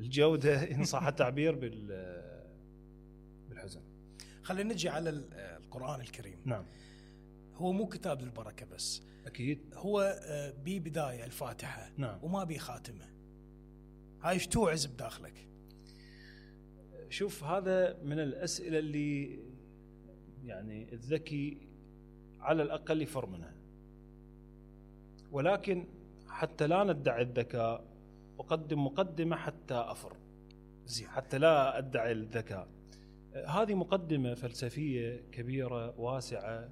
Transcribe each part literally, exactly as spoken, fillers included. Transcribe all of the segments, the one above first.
الجودة إن صح التعبير بالحزن. خلينا نجي على القرآن الكريم. نعم. هو مو كتاب للبركة بس، أكيد هو بي بداية الفاتحة. نعم. وما بي خاتمة. هاي ايش توعز بداخلك؟ شوف، هذا من الأسئلة اللي يعني الذكي على الأقل يفر منها، ولكن حتى لا ندعي الذكاء أقدم مقدمة حتى أفر زين. حتى لا أدعي الذكاء. هذه مقدمة فلسفية كبيرة واسعة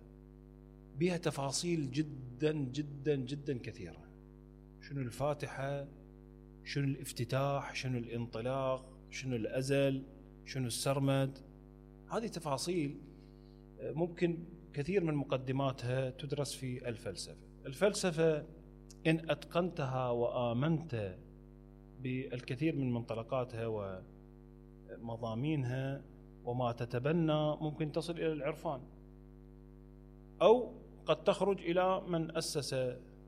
بها تفاصيل جدا جدا جدا كثيرة. شنو الفاتحة، شنو الافتتاح، شنو الانطلاق، شنو الأزل، شنو السرمد. هذه تفاصيل ممكن كثير من مقدماتها تدرس في الفلسفة. الفلسفة إن أتقنتها وآمنت بالكثير من منطلقاتها ومضامينها وما تتبنى، ممكن تصل إلى العرفان، أو قد تخرج إلى من أسس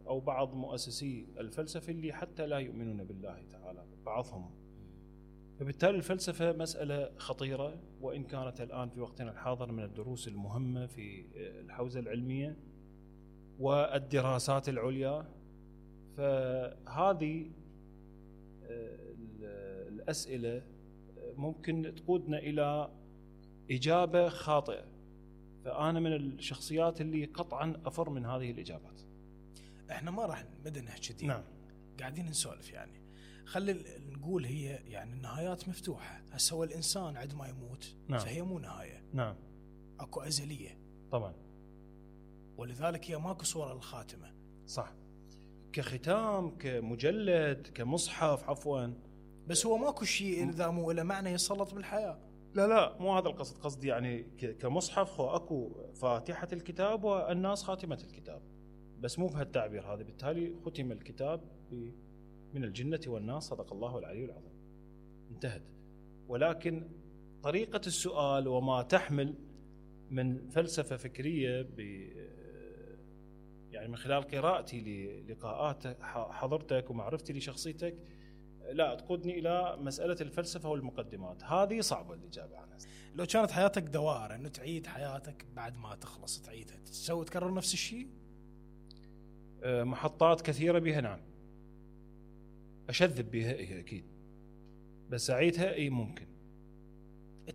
أو بعض مؤسسي الفلسفة اللي حتى لا يؤمنون بالله تعالى بعضهم. فبالتالي الفلسفة مسألة خطيرة، وإن كانت الآن في وقتنا الحاضر من الدروس المهمة في الحوزة العلمية والدراسات العليا. فهذه الأسئلة ممكن تقودنا إلى إجابة خاطئة، فأنا من الشخصيات اللي قطعا أفر من هذه الإجابات. احنا ما راح نبدأ نحكي. نعم. قاعدين نسولف يعني. خلي نقول هي يعني النهايات مفتوحة. هسه هو الإنسان عندما يموت. نعم. فهي مو نهاية. نعم. أكو أزلية. طبعا. ولذلك هي ماكو صورة للخاتمة. صح. كختام، كمجلد، كمصحف، عفوا. بس هو ماكو شيء إذا مو إلى معنى يسلط بالحياة. لا لا، مو هذا القصد. قصدي يعني كمصحف هو أكو فاتحة الكتاب والناس خاتمة الكتاب، بس مو بهالتعبير هذا. بالتالي ختم الكتاب من الجنة والناس، صدق الله العلي العظيم، انتهت. ولكن طريقة السؤال وما تحمل من فلسفة فكرية ب يعني من خلال قراءتي للقاءات حضرتك ومعرفتي لشخصيتك لا تقودني إلى مسألة الفلسفة والمقدمات. هذه صعبة الإجابة عنها. لو كانت حياتك دوائر أنه تعيد حياتك بعد ما تخلص تعيدها، تسوي تكرر نفس الشيء؟ محطات كثيرة بها نعم، أشذب بها إيه أكيد، بس أعيدها إيه ممكن.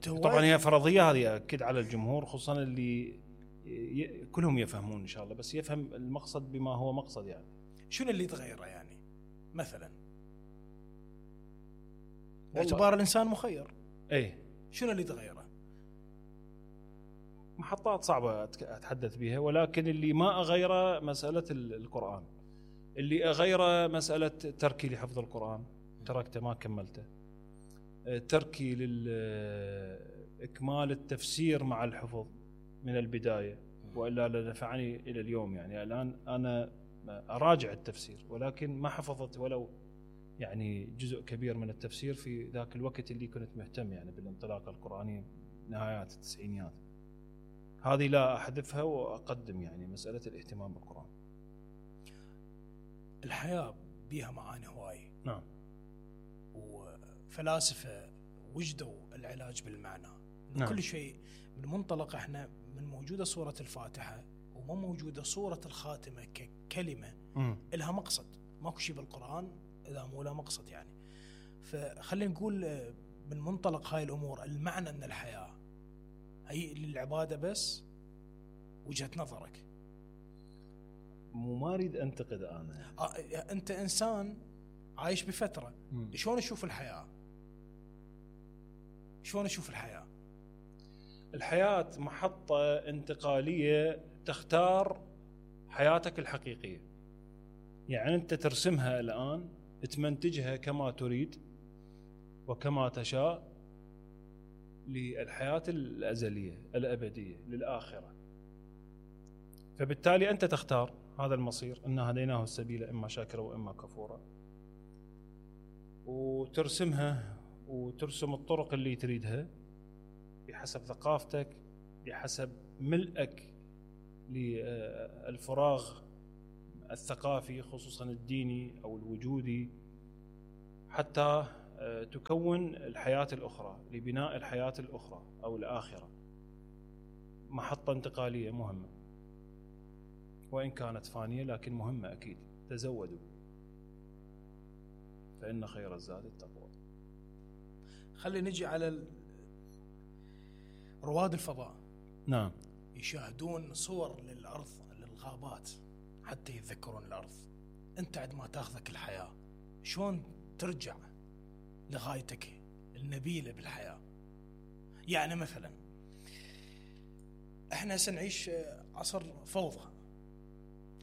طبعا هي فرضية هذه أكيد على الجمهور، خصوصا اللي ي... كلهم يفهمون إن شاء الله، بس يفهم المقصد بما هو مقصد. يعني شنو اللي تغيره يعني مثلا؟ باعتبار الإنسان مخير. إيه. شنو اللي تغيره؟ محطات صعبة أتحدث بها، ولكن اللي ما أغيره مسألة القرآن. اللي أغيره مسألة تركي لحفظ القرآن، تركته ما كملته. تركي لإكمال التفسير مع الحفظ من البداية، وإلا لنفعني إلى اليوم. يعني الآن أنا أراجع التفسير، ولكن ما حفظت ولو يعني جزء كبير من التفسير في ذاك الوقت اللي كنت مهتم يعني بالانطلاقة القرآنية نهايات التسعينيات. هذه لا أحذفها وأقدم يعني مسألة الاهتمام بالقرآن. الحياة بيها معاني هواي. نعم. وفلاسفة وجدوا العلاج بالمعنى. نعم. كل شيء من منطلق احنا من موجودة سورة الفاتحة وما موجودة سورة الخاتمة ككلمة م. إلها مقصد. ماكو شيء بالقرآن إذا مو له مقصد يعني. فخلينا نقول من منطلق هاي الأمور المعنى من الحياة هي للعبادة بس. وجهة نظرك. مو ما أريد أنتقد أنا. آه أنت إنسان عايش بفترة. م. شلون أشوف الحياة؟ شلون أشوف الحياة؟ الحياة محطة انتقالية تختار حياتك الحقيقية. يعني أنت ترسمها الآن، تمنتجها كما تريد وكما تشاء للحياة الأزلية الأبدية للآخرة. فبالتالي أنت تختار هذا المصير، إنا هديناه السبيل إما شاكرا وإما كفورا، وترسمها وترسم الطرق اللي تريدها بحسب ثقافتك، بحسب ملئك للفراغ الثقافي خصوصا الديني أو الوجودي، حتى تكون الحياة الأخرى، لبناء الحياة الأخرى أو الآخرة، محطة انتقالية مهمة وإن كانت فانية لكن مهمة أكيد. تزودوا فإن خير الزاد التقوى. خلي نجي على رواد الفضاء. نعم. يشاهدون صور للأرض، للغابات، حتى يتذكرون الأرض. أنت عندما تاخذك الحياة شلون ترجع لغايتك النبيلة بالحياة؟ يعني مثلا احنا سنعيش عصر فوضى،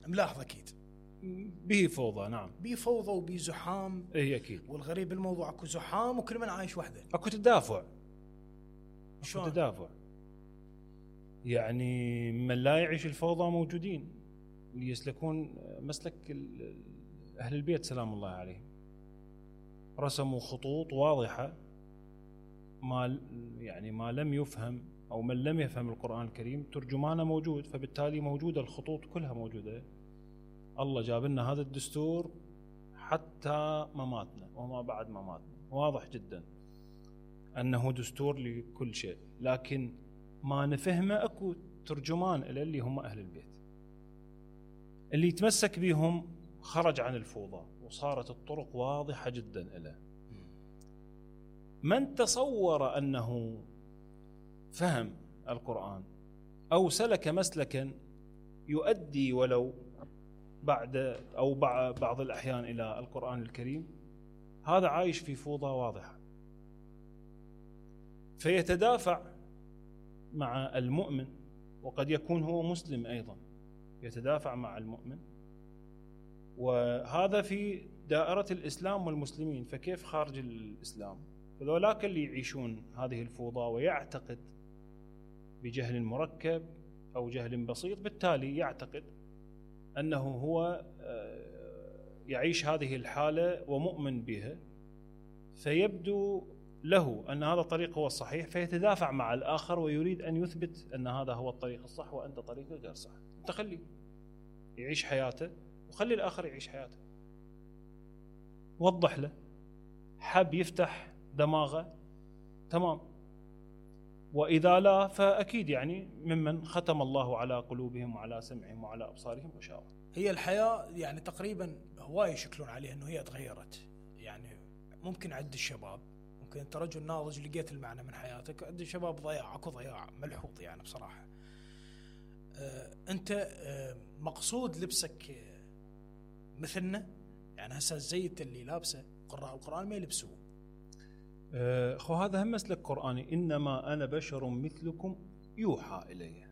ملاحظ أكيد به فوضى. نعم به فوضى وبه زحام. اي اكيد. والغريب بالموضوع اكو زحام وكل من عايش وحده. اكو تدافع. شلون؟ اكو تدافع. يعني من لا يعيش الفوضى موجودين اللي يسلكون مسلك أهل البيت سلام الله عليهم. رسموا خطوط واضحة، ما يعني ما لم يفهم أو من لم يفهم القرآن الكريم ترجمانه موجود، فبالتالي موجودة الخطوط كلها موجودة. الله جاب لنا هذا الدستور حتى مماتنا وما بعد مماتنا، واضح جدا أنه دستور لكل شيء، لكن ما نفهمه أكو ترجمان إلى اللي هم أهل البيت. اللي يتمسك بهم خرج عن الفوضى وصارت الطرق واضحة جدا إله. من تصور أنه فهم القرآن أو سلك مسلكا يؤدي ولو بعد أو بعض الأحيان إلى القرآن الكريم، هذا عايش في فوضى واضحة. فيتدافع مع المؤمن، وقد يكون هو مسلم أيضا، يتدافع مع المؤمن، وهذا في دائرة الإسلام والمسلمين. فكيف خارج الإسلام؟ فذولاك اللي يعيشون هذه الفوضى ويعتقد بجهل مركب أو جهل بسيط، بالتالي يعتقد أنه هو يعيش هذه الحالة ومؤمن بها، فيبدو له أن هذا الطريق هو الصحيح، فيتدافع مع الآخر ويريد أن يثبت أن هذا هو الطريق الصح وأنت طريقك غير صح. أنت خليه يعيش حياته وخلي الآخر يعيش حياته. وضح له، حب يفتح دماغه تمام، وإذا لا فأكيد يعني ممن ختم الله على قلوبهم وعلى سمعهم وعلى أبصارهم غشاوة. هي الحياة يعني تقريبا هواي يشكلون عليها أنه هي تغيرت. يعني ممكن عند الشباب، ممكن أنت رجل ناضج لقيت المعنى من حياتك، عند الشباب ضياع، أكو ضياع ملحوظ يعني بصراحة. آه أنت آه مقصود لبسك مثلنا، يعني هسه الزيت اللي لابسه قراء القرآن ما يلبسوه. أه خو هذا هم مسلك قرآني، إنما أنا بشر مثلكم يوحى إلي.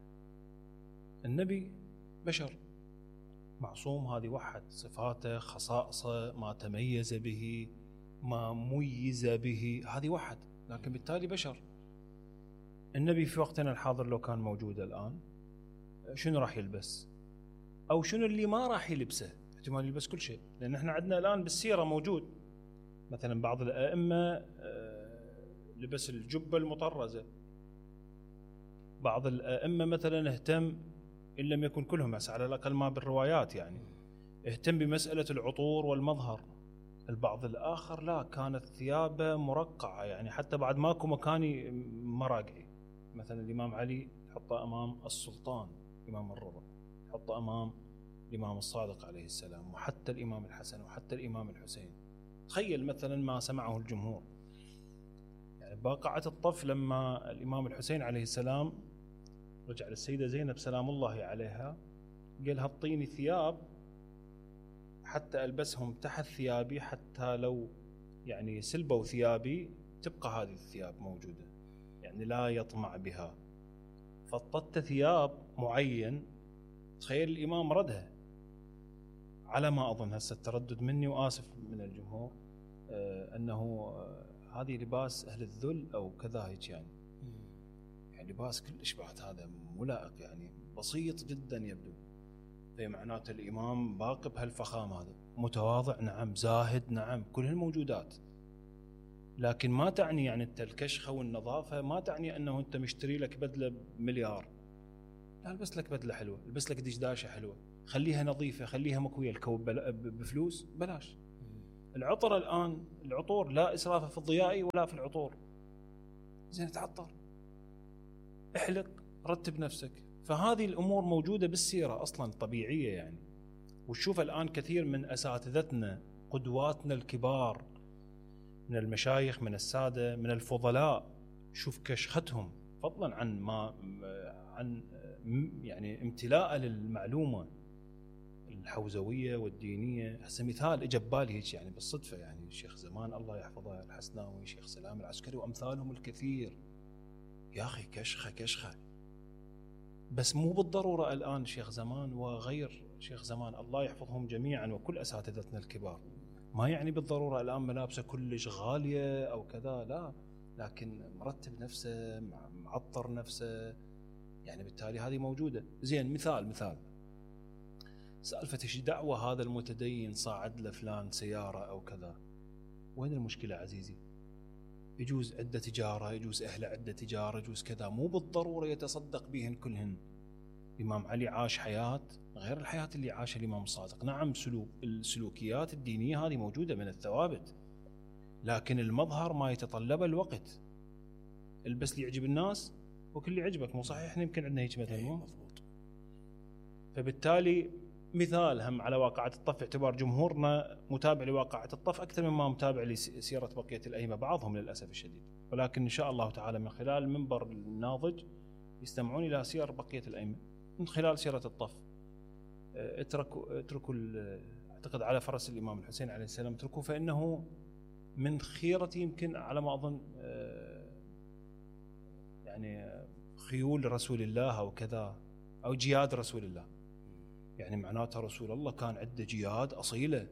النبي بشر معصوم، هذه وحد صفاته، خصائصه، ما تميز به، ما ميز به، هذه وحد، لكن بالتالي بشر. النبي في وقتنا الحاضر لو كان موجود الآن شنو راح يلبس؟ أو شنو اللي ما راح يلبسه؟ احتمال يلبس كل شيء، لأن احنا عندنا الآن بالسيرة موجود مثلا بعض الأئمة لبس الجبة المطرزة، بعض الأئمة مثلا اهتم، إن لم يكن كلهم بس على الأقل ما بالروايات يعني، اهتم بمسألة العطور والمظهر. البعض الآخر لا، كانت ثيابه مرقعة، يعني حتى بعد ماكو مكاني مراقعي. مثلا الإمام علي حطه أمام السلطان إمام الرضا، حطه أمام الإمام الصادق عليه السلام، وحتى الإمام الحسن وحتى الإمام الحسين. تخيل مثلا ما سمعه الجمهور، يعني باقعة الطف لما الإمام الحسين عليه السلام رجع للسيدة زينب سلام الله عليها، قال هطيني ثياب حتى ألبسهم تحت ثيابي، حتى لو يعني سلبوا ثيابي تبقى هذه الثياب موجودة، يعني لا يطمع بها. فاضطت ثياب معين، تخيل الإمام ردها على ما أظن، هسه التردد مني وآسف من الجمهور، آه أنه آه هذه لباس أهل الذل أو كذا هيك، يعني يعني لباس كلش بعد هذا ملائق، يعني بسيط جدا يبدو. في معناته الإمام باقي بهالفخام هذا، متواضع نعم، زاهد نعم، كل هالموجودات، لكن ما تعني يعني أنت الكشخة والنظافة ما تعني أنه أنت مشتري لك بدلة بمليار. لا، البس لك بدلة حلوة، البس لك دشداشة حلوة، خليها نظيفة، خليها مكوية. الكوب بفلوس بلاش، العطر الان العطور لا اسراف في الضياء ولا في العطور. زين تعطر، احلق، رتب نفسك. فهذه الامور موجوده بالسيره اصلا طبيعيه يعني. وتشوف الان كثير من اساتذتنا قدواتنا الكبار من المشايخ من الساده من الفضلاء، شوف كشختهم فضلا عن ما عن يعني امتلاء للمعلومه الحوزويه والدينيه. هسه مثال اجى ببالي هيك يعني بالصدفه، يعني الشيخ زمان الله يحفظه الحسناوي، شيخ سلام العسكري وامثالهم الكثير. يا اخي كشخه كشخه، بس مو بالضروره الان شيخ زمان وغير شيخ زمان الله يحفظهم جميعا وكل اساتذتنا الكبار، ما يعني بالضروره الان ملابسه كلش غاليه او كذا، لا، لكن مرتب نفسه، معطر نفسه، يعني بالتالي هذه موجوده. زين مثال مثال سالفه ايش دعوه هذا المتدين صاعد لفلان سياره او كذا، وين المشكله عزيزي؟ يجوز عنده تجاره، يجوز اهله عنده تجاره، يجوز كذا، مو بالضروره يتصدق بهن كلهن. الامام علي عاش حياه غير الحياه اللي عاشها الامام الصادق. نعم سلوك السلوكيات الدينيه هذه موجوده من الثوابت، لكن المظهر ما يتطلب الوقت. البس اللي يعجب الناس وكل اللي يعجبك، مو صحيح؟ احنا يمكن عندنا هيك مثلا، مو مضبوط. فبالتالي مثال هم على واقعة الطف، اعتبار جمهورنا متابع لواقعة الطف أكثر مما متابع لسيرة بقية الأئمة، بعضهم للأسف الشديد، ولكن إن شاء الله تعالى من خلال المنبر الناضج يستمعون إلى سير بقية الأئمة من خلال سيرة الطف. اتركوا اتركوا أعتقد على فرس الإمام الحسين عليه السلام، اتركوا فإنه من خيرة يمكن على ما أظن يعني خيول رسول الله أو كذا، أو جياد رسول الله، يعني معناتها رسول الله كان عنده جياد أصيلة.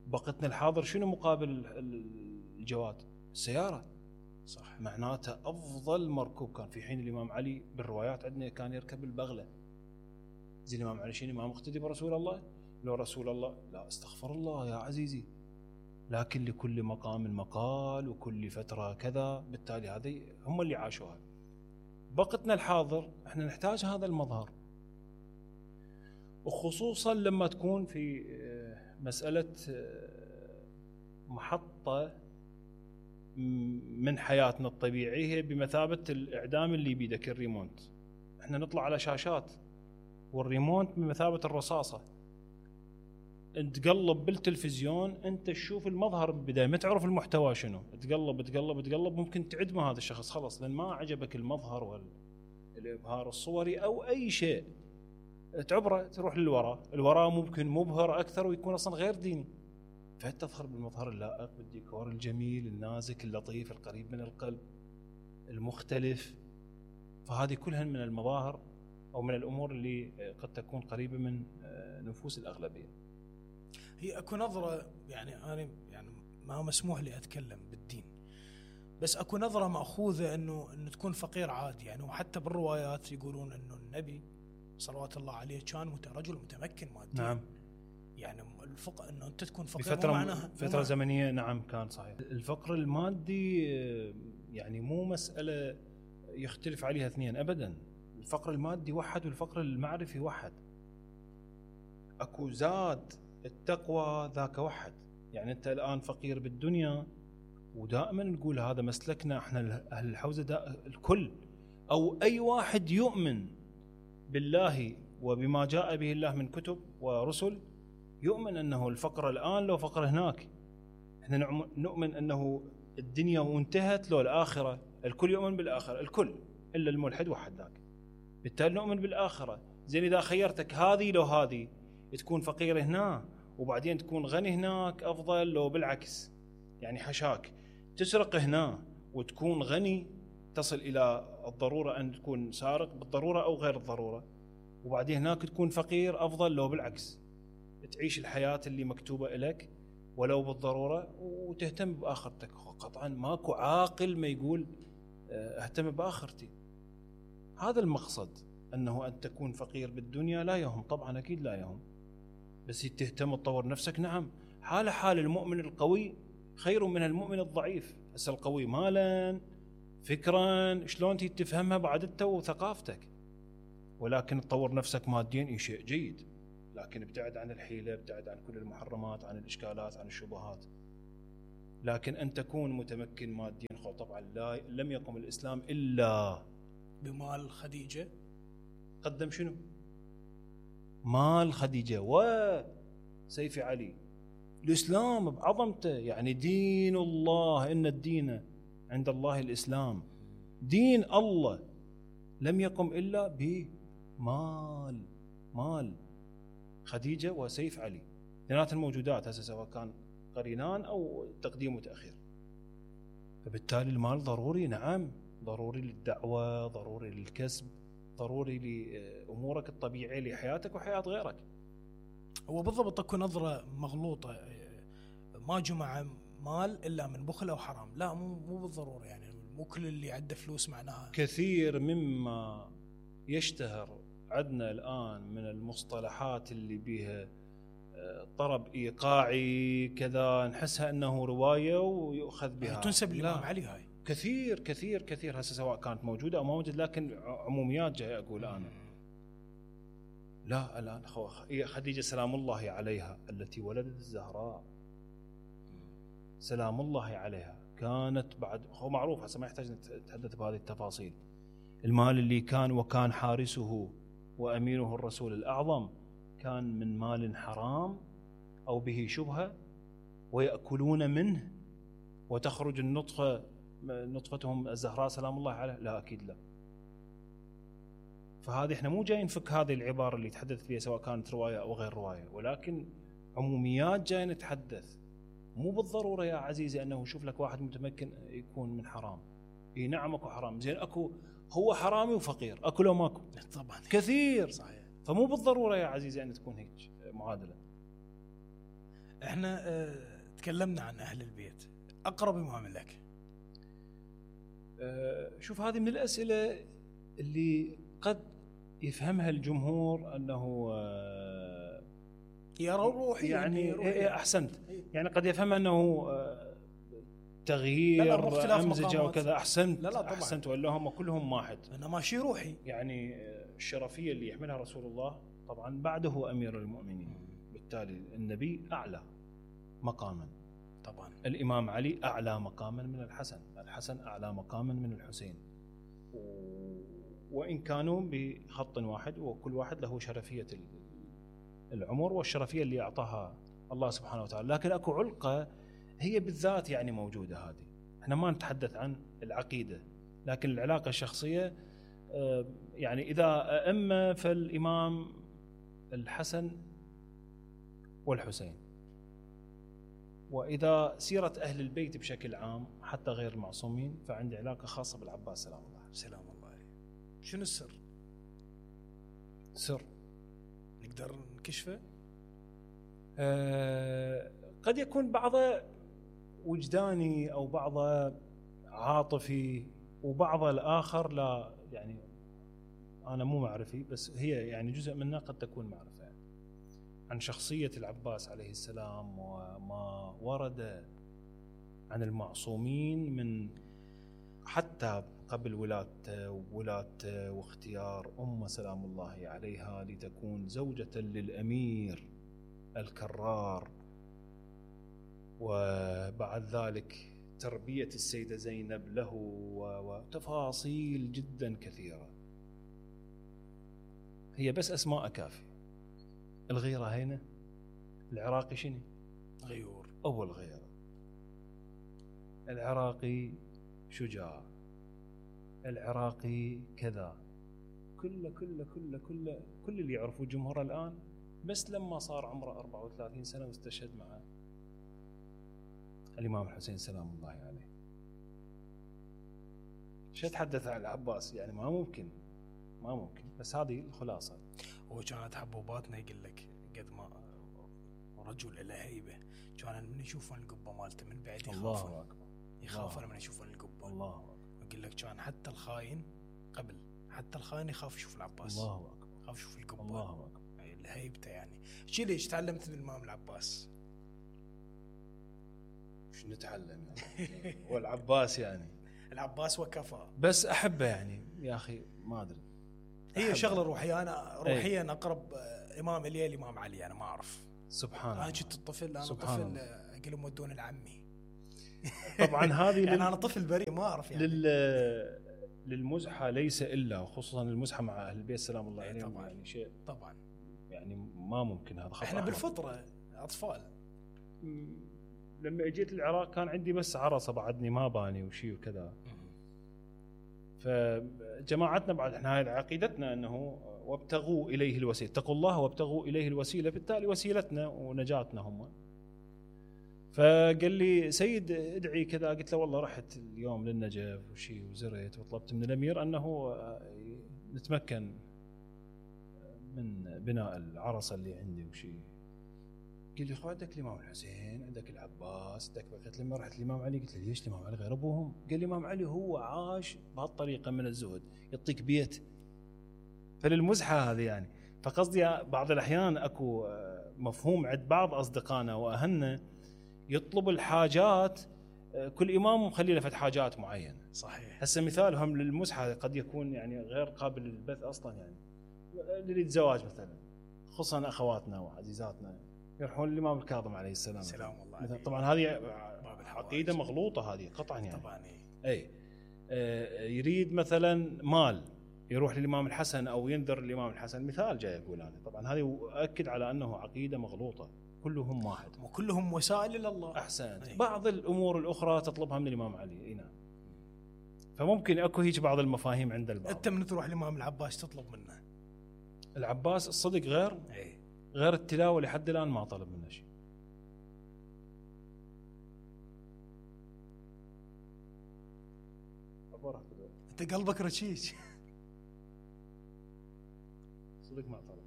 بقتنا الحاضر شنو مقابل الجواد؟ السيارة، صح؟ معناتها أفضل مركوب كان في حين الإمام علي بالروايات عندنا كان يركب البغلة. زي الإمام علي شنو ما مقتدي برسول الله؟ لو رسول الله لا استغفر الله يا عزيزي، لكن لكل مقام مقال وكل فترة كذا، بالتالي هذه هم اللي عاشوها. بقتنا الحاضر احنا نحتاج هذا المظهر، وخصوصا لما تكون في مسألة محطة من حياتنا الطبيعية بمثابة الإعدام اللي بيدك الريمونت. احنا نطلع على شاشات والريمونت بمثابة الرصاصة، انت تقلب بالتلفزيون انت تشوف المظهر بالبداية، ما تعرف المحتوى شنو، تقلب تقلب تقلب ممكن تعدم هذا الشخص خلص، لأن ما عجبك المظهر والإبهار الصوري أو أي شيء، تعبره تروح للوراء، الوراء ممكن مبهر أكثر ويكون أصلا غير ديني، فتظهر بالمظهر اللائق بالديكور الجميل النازك اللطيف القريب من القلب المختلف. فهذه كلها من المظاهر أو من الأمور اللي قد تكون قريبة من نفوس الأغلبية. هي أكو نظرة، يعني أنا يعني ما مسموح لي أتكلم بالدين، بس أكو نظرة مأخوذة إنه إنه تكون فقير عادي يعني. وحتى بالروايات يقولون إنه النبي صلوات الله عليه كان رجل متمكن ماديا. نعم. يعني الفقر انه انت تكون فقير بفترة معناها فترة زمنية. نعم كان صحيح. الفقر المادي يعني مو مسألة يختلف عليها اثنين ابدا. الفقر المادي وحد والفقر المعرفي وحد. اكو زاد التقوى ذاك وحد. يعني انت الان فقير بالدنيا، ودائما نقول هذا مسلكنا احنا اهل الحوزة، الكل او اي واحد يؤمن بالله وبما جاء به الله من كتب ورسل يؤمن أنه الفقر الآن لو فقر هناك. احنا نؤمن أنه الدنيا وانتهت لو الآخرة. الكل يؤمن بالآخرة، الكل إلا الملحد وحد ذاك. بالتالي نؤمن بالآخرة. زين إذا خيرتك هذه لو هذه، تكون فقير هنا وبعدين تكون غني هناك أفضل لو بالعكس، يعني حشاك تسرق هنا وتكون غني، تصل إلى الضرورة أن تكون سارق بالضرورة أو غير الضرورة، وبعدين هناك تكون فقير أفضل لو بالعكس، تعيش الحياة اللي مكتوبة لك ولو بالضرورة وتهتم بآخرتك. قطعا ماكو عاقل ما يقول اهتم بآخرتي. هذا المقصد، أنه أن تكون فقير بالدنيا لا يهم، طبعا أكيد لا يهم، بس تهتم تطور نفسك. نعم، حال حال المؤمن القوي خير من المؤمن الضعيف. هسه القوي مالا فكرا شلون تفهمها بعدته وثقافتك، ولكن تطور نفسك ماديا اي شيء جيد، لكن ابتعد عن الحيلة، ابتعد عن كل المحرمات، عن الإشكالات، عن الشبهات. لكن أن تكون متمكن ماديا خو طبعا لا لم يقم الإسلام إلا بمال خديجة. قدم شنو؟ مال خديجة وسيف علي. الإسلام بعظمته يعني دين الله، إن الدين عند الله الإسلام، دين الله لم يقم إلا بمال مال خديجة وسيف علي، اثنينات الموجودات هسه سواء كان قرينان أو تقديم وتأخير. فبالتالي المال ضروري، نعم ضروري للدعوة، ضروري للكسب، ضروري لأمورك الطبيعية لحياتك وحياة غيرك. هو بالضبط اكو نظرة مغلوطة، ما جمع مال إلا من بخل أو حرام. لا، مو مو بالضرورة، يعني مو كل اللي عنده فلوس معناها. كثير مما يشتهر عندنا الآن من المصطلحات اللي بيها طرب إيقاعي كذا نحسها أنه رواية ويؤخذ بها، تنسب للإمام علي. هاي كثير كثير كثير هسه سواء كانت موجودة أو ما موجودة، لكن عموميات جاي أقول أنا. لا الآن خديجة سلام الله عليها التي ولدت الزهراء سلام الله عليها كانت بعد، هو معروف هسه ما يحتاج نتحدث بهذه التفاصيل. المال اللي كان وكان حارسه وأمينه الرسول الأعظم كان من مال حرام أو به شبهة ويأكلون منه وتخرج النطفة نطفتهم الزهراء سلام الله عليها؟ لا أكيد لا. فهذه احنا مو جايين نفك هذه العبارة اللي تحدث فيها سواء كانت رواية أو غير رواية، ولكن عموميات جايين نتحدث. مو بالضرورة يا عزيزي أنه شوف لك واحد متمكن يكون من حرام. اي نعم اكو حرام، زين اكو هو حرامي وفقير، اكو لو ماكو؟ طبعا كثير. صحيح. فمو بالضرورة يا عزيزي أن تكون هيك معادلة. احنا اه تكلمنا عن أهل البيت، أقرب إمام لك؟ اه شوف هذه من الأسئلة اللي قد يفهمها الجمهور أنه اه يرى روحي يعني, يعني روحي. إيه أحسنت. يعني قد يفهم أنه اه تغيير لا لا أمزجة وكذا. أحسنت. لا لا طبعا. أحسنت، ولا هم كلهم واحد. إنما شيء روحي. يعني الشرفية اللي يحملها رسول الله طبعا بعده أمير المؤمنين، بالتالي النبي أعلى مقاما طبعا. الإمام علي أعلى مقاما من الحسن، الحسن أعلى مقاما من الحسين، وإن كانوا بخط واحد وكل واحد له شرفية العمر والشرفية اللي أعطاها الله سبحانه وتعالى. لكن أكو علقة هي بالذات يعني موجودة. هذه احنا ما نتحدث عن العقيدة، لكن العلاقة الشخصية. يعني إذا أئمة فالإمام الحسن والحسين، وإذا سيرة أهل البيت بشكل عام حتى غير المعصومين فعندي علاقة خاصة بالعباس سلام الله عليه. سلام الله عليه. شنو السر؟ سر نقدر نكشفه؟ أه قد يكون بعضه وجداني أو بعضه عاطفي وبعضه الآخر لا، يعني أنا مو معرفي، بس هي يعني جزء منها قد تكون معرفة يعني عن شخصية العباس عليه السلام وما ورد عن المعصومين من حتى قبل ولادته وولادته واختيار أم سلام الله عليها لتكون زوجة للأمير الكرار، وبعد ذلك تربية السيدة زينب له وتفاصيل جدا كثيرة. هي بس أسماء كافية. الغيرة هنا العراقي شنو؟ غيور. أول غيرة. العراقي شجاع، العراقي كذا، كله كله كله كله كل اللي يعرفوا جمهور الآن بس لما صار عمره أربعة وثلاثين سنة واستشهد مع الإمام الحسين سلام الله عليه. شو أتحدث عن العباس؟ يعني ما ممكن ما ممكن. بس هذه الخلاصة. هو كانت حبوباتنا يقول لك قد ما رجل له هيبة، كان من يشوفون القبة مالته من بعد يخافون. الله أكبر. يخافون من يشوفون القبة. الله أكبر. يقول لك كان حتى الخاين قبل حتى الخاين يخاف يشوف العباس. الله أكبر. يخاف يشوف القبة. الله أكبر. هيبته يعني. شي ليش تعلمت من الإمام العباس؟ مش نتعلم يعني والعباس يعني العباس وكفى. بس أحبه يعني يا أخي ما أدري. هي شغلة روحية. أنا روحيا أيه. أقرب إمام إلي الإمام علي. أنا ما أعرف. سبحان الله. أنا كنت الطفل أنا طفل أقول مودون العمي. طبعا هذه يعني لل... انا طفل بريء ما اعرف يعني لل... للمزحه ليس الا، خصوصا المزحه مع اهل البيت سلام الله عليهم، طبعاً. يعني شيء طبعا يعني ما ممكن، هذا خطأ احنا أحمر. بالفطره اطفال. لما اجيت العراق كان عندي بس عرصه بعدني ما باني وشي وكذا، فجماعتنا بعد احنا هاي عقيدتنا انه وابتغوا اليه الوسيله، اتقوا الله وابتغوا اليه الوسيله، بالتالي وسيلتنا ونجاتنا هم. فقال لي سيد ادعي كذا، قلت له والله رحت اليوم للنجف وشي وزرت وطلبت من الامير انه نتمكن من بناء العرصه اللي عندي وشي. قال لي خو عندك الامام الحسين، عندك العباس، عندك، قلت لما رحت الامام علي قلت له ليش الامام علي غير ابوهم؟ قال لي الامام علي هو عاش بهالطريقه من الزهد، يعطيك بيت. فللمزحه هذه يعني، فقصدي بعض الاحيان اكو مفهوم عند بعض اصدقائنا واهلنا يطلب الحاجات، كل امام مخلي له فد حاجات معينه. صحيح. هسه مثالهم للمزحه قد يكون يعني غير قابل للبث اصلا، يعني للزواج مثلا، خصوصا اخواتنا وعزيزاتنا يروحون الامام الكاظم عليه السلام سلام الله عليه. طبعا هذه عقيده مغلوطه هذه قطعا يعني. طبعا اي آه يريد مثلا مال يروح للامام الحسن او ينذر الامام الحسن، مثال جاي اقول انا. طبعا هذه اؤكد على انه عقيده مغلوطه، كلهم واحد وكلهم وسائل الى الله. احسنت. بعض الامور الاخرى تطلبها من الامام علي، اي نعم. فممكن اكو هيك بعض المفاهيم عند البعض. انت من تروح الامام العباس تطلب منه؟ العباس الصدق غير اي غير التلاوه لحد الان ما طلب منه شيء. انت قلبك رشيش صدق ما طلب.